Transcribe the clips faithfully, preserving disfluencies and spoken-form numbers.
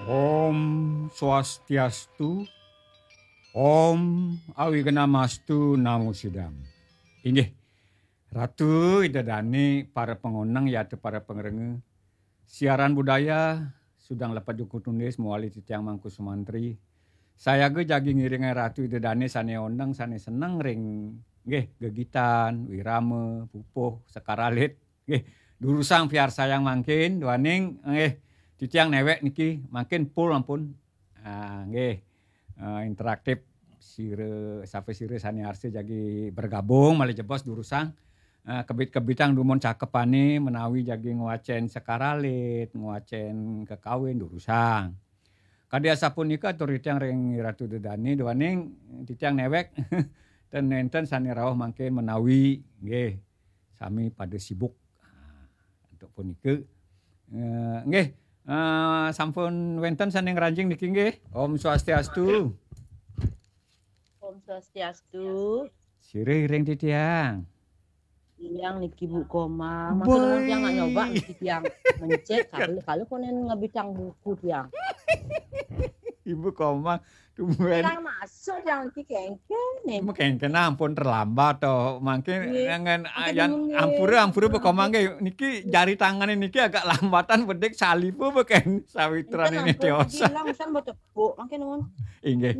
Om Swastiastu, Om Awignamastu Namo Sidam. Inggih, Ratu Ida Dane, para pangoneng yata para pangrengga. Siaran budaya, Sudang Lepat Juku Tunis, mawali titiang Mangku Sumantri. Sayaga jagi ngiringang Ratu Ida Dane sane oneng, sane seneng ring, nggih, gegitan, wirama, pupuh, sekar alit. Nggih, durusang piarsayang mangkin, duaning, nggih, titiang newek niki, mangkin full ampun. Ah, nggih. Eh, interaktif sira, sapa sira sane arsa jagi bergabung, malih jebos durusang. Eh, kebit-kebitang dumun cakepane menawi jagi ngwacen sekar alit, ngwacen kekawin, durusang. Kadi asapunika atur titiang ring Ratu Ida Dane, duaning titiang newek ten nenten sane rauh mangkin menawi, nggih, sami pada sibuk. Ah, antuk punika, eh, nggih, eh, sampun wenten sane ngranjing niki nggih. Om Swastiastu. Om Swastiastu. Sira iring titiang. Titiang niki Bu Komang. Masa nuwun tiang nak nyoba niki tiang mencet, kalau, kalau konen ngebitang buku tiang. Ibu Komang, tumben. Tiang masuk tiang niki kengken nih. Ibu kengken ampun terlambat to. Mangkin nggih, jangan mangkin ayan nuwun nggih. Ampura, ampura Bu Komang nggih. Niki jari tangane niki agak lambatan bedik salipu beken sawitran enten ini ampun tiosan. Bilang kan betul. Bu, mangkin nuwun. Inggih.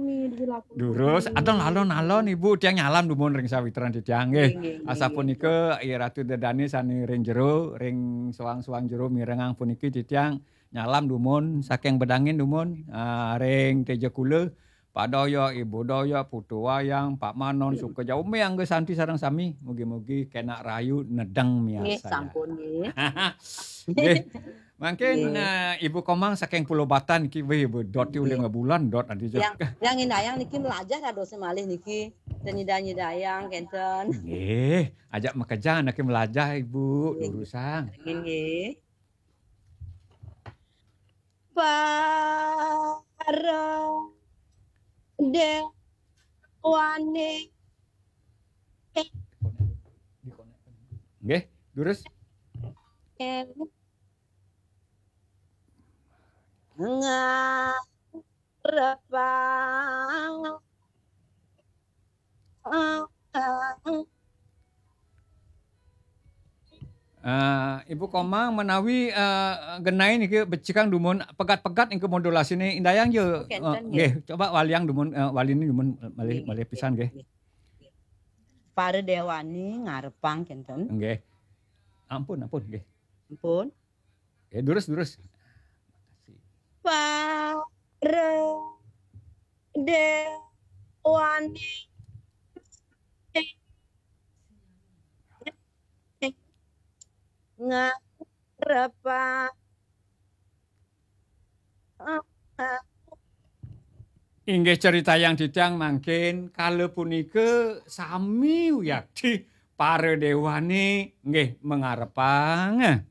Durus, adon alon-alon Ibu tiang nyalam dumun ring sawitran titiang nggih. Nggih, nggih, nggih. Asapunika Ratu Ida Dane sane ring jero, ring soang-soang jero mirengang puniki titiang nyalam dumun saking bedangin dumun, ah, ring Teja Kula, Pak Doyok, Ibu Doyok, Putu Wayang, Pak Manon, Suka Jaume, Angga Santi sareng sami. Mugi-mugi kenak rayu nedeng miarsayang. Nggih, sampun nggih. Nggih. Mangkin, nggih. Eh, Ibu Komang saking Pulau Batan niki, wih, Ibu, dot ulih nggih. Ngebulan, dot nanti. Yang, yang indayang niki melajah dados malih niki. Dan nyida-nyidayang kenten. Nggih, ajak makejang niki melajah, Ibu, nggih. Durusang. Nggih. Para dewane. Nggih, durus. Ngarepang. Eh, Ibu Komang menawi, eh, genah niki becikang dumun pegat-pegat niki modulasiné indayang ja. Oh, kenten, eh, nggih. Nggih, coba waliang dumun, eh, waliné dumun, eh, malih, nggih, malih pisan nggih, nggih. Para dewane ngarepang kenten. Nggih. Ampun, ampun nggih. Ampun. Ya, durus, durus. Para dewane ngarepang. Inggih, critayang titiang mangkin, kala punika sami wiakti para dewane nggih mangarepang.